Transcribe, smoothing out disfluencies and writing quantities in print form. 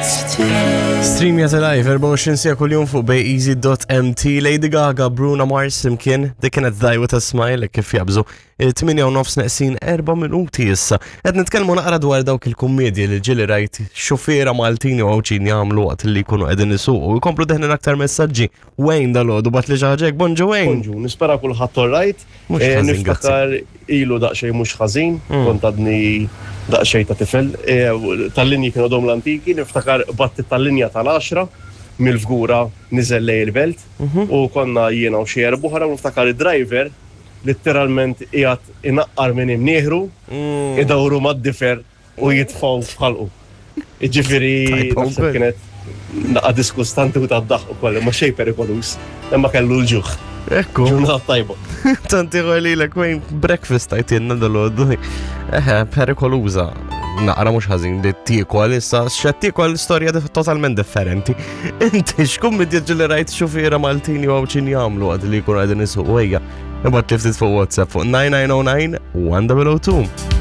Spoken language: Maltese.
Stream jata live 24 sija kuljum fuq bayeasy.mt Lady Gaga, Bruno Mars imkien dik kienet Die With A Smile kif jabżu 8 u nofs neqsin 4 minuti issa. Qed nitkellmu naqra dwar dawk il-kummedji li ġieli rajt xufiera Maltin u Għawdxin jagħmlu waqt li jkunu qegħdin isuqu. Jkomplu deħlin aktar messaġġi. Wayne dal-għodu bat li xi ħaġa hekk. Bonġu Wayne. Bonġu, nispera kulħadd all right. Mhux Eh, ħażin, Niftakar ilu daqsxejn mhux ħażin, kont għadni daqsxejn ta' tifel. Eh, Tal-linji kienu għadhom l-antiki, niftakar batti tal-linja tal-10 mill-Fgura niżel lejn il-belt u konna jiena u xi erba' oħra u niftakar id-driver litteralment qiegħed inaqqar minn imnieħru, idawru mad-difer u jitfgħu f'ħalqu. Jiġifieri Tajba naħseb wkoll. kienet naqa diskustanti u tad-daħq ukoll, imma xejn perikoluż, imma kellu l-ġuħ. Ekku. Ġurnata tajba. Tanti għalilek Wayne breakfast tajtinna dal-għodu. Eħe, perikoluża. Naqra mhux ħażin li tiekol issa, x'qed tiekol storja totalment differenti. Inti x'kummedja ġieli rajt xufiera Maltin jew Għawdxin jagħmlu waqt li jkunu qegħdin isuqu ejja. Ibgħat li ftit fuq WhatsApp fuq 9909 1002.